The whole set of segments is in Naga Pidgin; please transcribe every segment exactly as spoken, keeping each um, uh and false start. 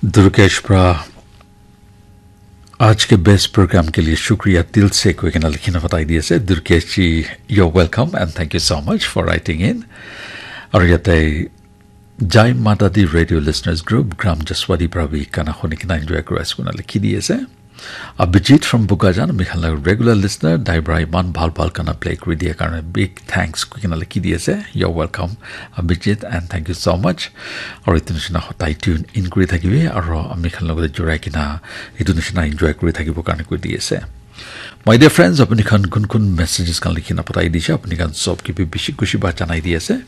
Durgesh pra aaj ke best program ke liye shukriya dil se koi kena likhina batai diye ase. Durgesh ji, you're welcome and thank you so much for writing in. Aru yate Jai Mata Di Radio Listeners Group, Gram Jaswadi pra bi gana huni kena enjoy kuri ase koina likhi diye ase. Abhijit from Bokajan, ami khan la regular listener, dai pra iman bhal bhal gana play kuri diya karne big thanks koi kena likhi diye ase. You're welcome, Abhijit, and thank you so much. Aru etu nishina hodai tune in kuri thakibi, aru ami khan logote jurai kena etu nishina enjoy kuri thakibo karne koi diye ase. My dear friends, apni khan kun kun messages khan likhina patai dise, apni khan sob ke bi bishi khushi ba janai di ase.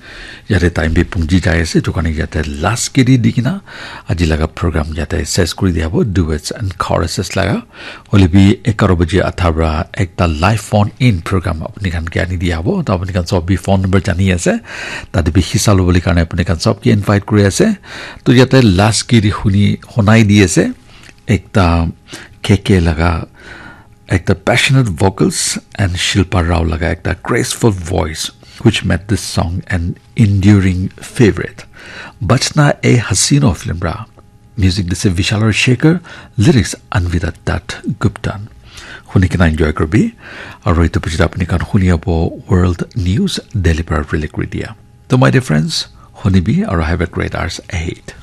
Yate time bi pungji jai ase, etu karne yate last ke di di kena aji laga program yate ses kuri dia hobo, duets and choruses laga. Hoile bi egharo baji atha pra ekta live phone in program apni khan ke ani dia hobo. To apni khan sob bi phone number jani ase, tate bi hissa lobole karne apni khan sob ke invite kuri ase. To yate last ke di huni honai di ase ekta K K laga ekta passionate vocals and Shilpa Rao laga ekta graceful voice, which made this song an enduring favorite. Bachna Ye Haseena film pra. Music dise Vishal Ravi Shekhar, lyrics Anvita Dutt Guptan. Huni kena enjoy kuri bi, aru etu pichete apni khan huni abo world news Delhi pra relay kuri dia. To my dear friends, huni bi aru have a great hours ahead.